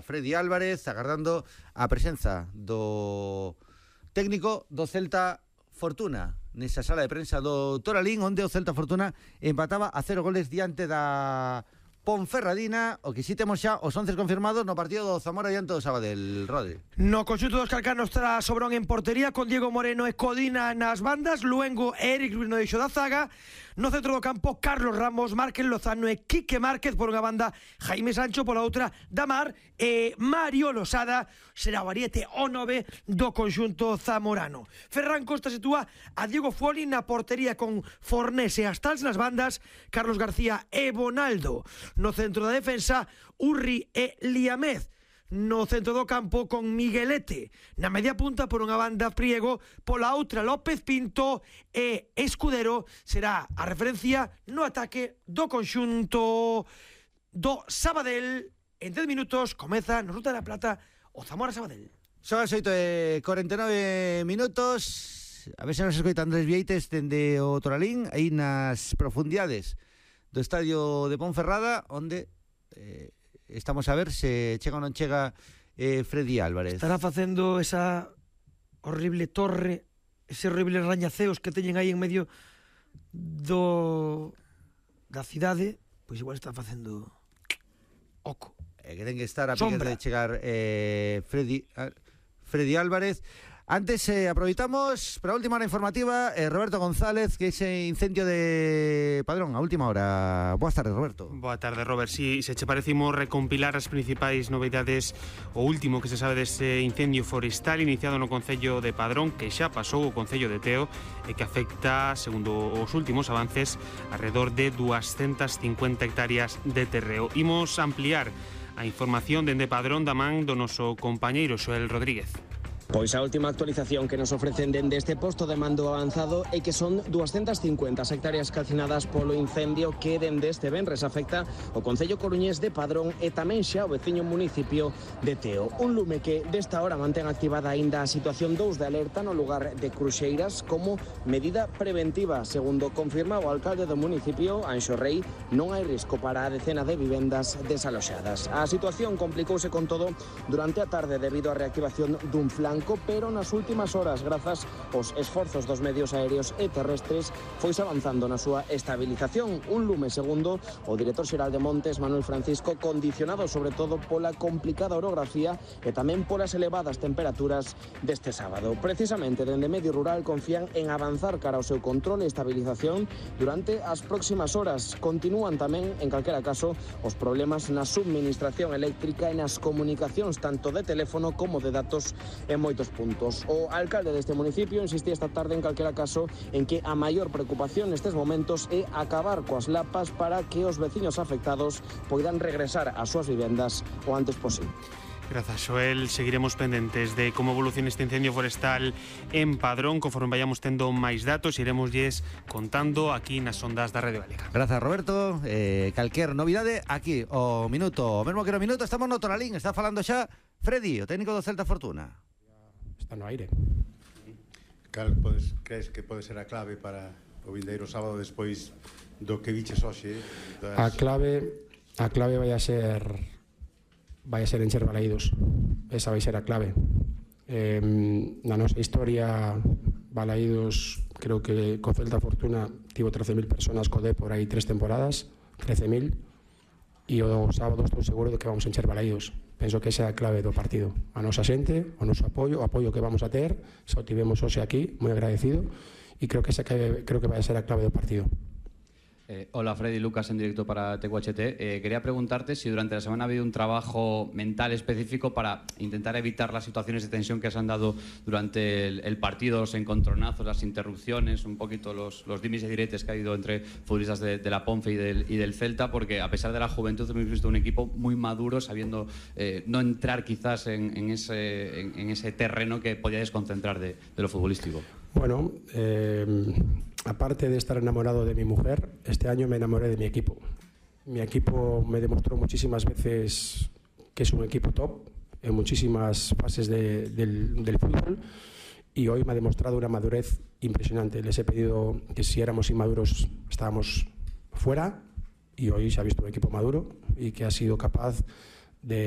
Freddy Álvarez, agardando a presenza do técnico do Celta Fortuna nesa sala de prensa do Toralín, onde o Celta Fortuna empataba a 0 goles diante da Ponferradina. O que si temos xa os 11 confirmados no partido do Zamora diante do Sabadell, Rodri. No conxunto dos calcanos estará Sobrón en portería, con Diego Moreno e Codina nas bandas, Luengo e Eric Ruiz no eixo da zaga. No centro do campo, Carlos Ramos, Márquez Lozano e Quique Márquez por unha banda, Jaime Sancho pola outra, Damar e Mario Losada será o ariete o 9 do conxunto zamorano. Ferran Costa sitúa a Diego Fuoli na portería con Fornés e Astals nas bandas, Carlos García e Bonaldo. No centro da defensa, Urri e Liamez. No centro do campo con Miguelete. Na media punta por unha banda Priego, pola outra López Pinto e Escudero será a referencia no ataque do conxunto do Sabadell. En 10 minutos comeza no Ruta da Plata o Zamora Sabadell. Son as 8:49 minutos. A ver se nos escoita Andrés Vieites dende o Toralín, aí nas profundidades do estadio de Ponferrada, onde estamos a ver se chega ou non chega Freddy Álvarez. Estará facendo esa horrible torre, ese horrible rañaceos que teñen aí en medio da cidade, pois igual está facendo oco. Que ten que estar a piques de chegar Freddy Álvarez. Antes aproveitamos para a última hora informativa, Roberto González, que ese incendio de Padrón a última hora. Boas tardes, Roberto. Boa tarde, Robert. Si se che parecimos recompilar as principais novidades, o último que se sabe dese incendio forestal iniciado no Concello de Padrón, que xa pasou o Concello de Teo e que afecta, segundo os últimos avances, alrededor de 250 hectáreas de terreo. Imos ampliar a información dende Padrón da man do noso compañeiro Xoel Rodríguez. Pois a última actualización que nos ofrecen dende este posto de mando avanzado é que son 250 hectáreas calcinadas polo incendio que dende este venres afecta o Concello coruñés de Padrón e tamén xa o veciño municipio de Teo. Un lume que desta hora mantén activada aínda a situación 2 de alerta no lugar de Cruxeiras como medida preventiva. Segundo confirma o alcalde do municipio, Anxo Rei, non hai risco para a decena de vivendas desaloxadas. A situación complicouse con todo durante a tarde debido á reactivación dun flanco, pero nas últimas horas, grazas aos esforzos dos medios aéreos e terrestres, foise avanzando na súa estabilización. Un lume, segundo o director xeral de Montes, Manuel Francisco, condicionado sobre todo pola complicada orografía e tamén polas elevadas temperaturas deste sábado. Precisamente, dende Medio Rural confían en avanzar cara ao seu control e estabilización durante as próximas horas. Continúan tamén, en calquera caso, os problemas na subministración eléctrica e nas comunicacións tanto de teléfono como de datos en moitos puntos. O alcalde deste municipio insistía esta tarde en calquera caso en que a maior preocupación nestes momentos é acabar coas lapas para que os veciños afectados poidan regresar ás súas vivendas o antes posible. Grazas, Xoel. Seguiremos pendentes de como evoluciona este incendio forestal en Padrón. Conforme vayamos tendo máis datos, iremosles contando aquí nas ondas da Radio Galega. Grazas, Roberto. Calquer novidade aquí, o minuto, o mesmo que no minuto, estamos no Toralín. Está falando xa Freddy, o técnico do Celta Fortuna. Está no aire. Cal crees que pode ser a clave para o vindeiro sábado despois do que viches hoxe? A clave vai a ser encher Balaídos. Esa vai ser a clave. Na nosa historia, Balaídos, creo que co Celta Fortuna tivo 13.000 personas co D por aí 3 temporadas, 13.000, e o sábado estou seguro de que vamos a encher Balaídos. Penso que esa é a clave do partido. A nosa xente, o noso apoio, o apoio que vamos a ter, xa o tivemos hoxe aquí, moi agradecido, e creo que vai ser a clave do partido. Hola, Freddy, Lucas en directo para TQHT. Quería preguntarte si durante la semana ha habido un trabajo mental específico para intentar evitar las situaciones de tensión que se han dado durante el partido, los encontronazos, las interrupciones, un poquito los dimes y diretes que ha habido entre futbolistas de la Ponfe y del Celta, porque a pesar de la juventud hemos visto un equipo muy maduro, sabiendo no entrar quizás en ese terreno que podía desconcentrar de lo futbolístico. Bueno, aparte de estar enamorado de mi mujer, este año me enamoré de mi equipo. Mi equipo me demostró muchísimas veces que es un equipo top en muchísimas fases del fútbol, y hoy me ha demostrado una madurez impresionante. Les he pedido que si éramos inmaduros estábamos fuera, y hoy se ha visto un equipo maduro y que ha sido capaz de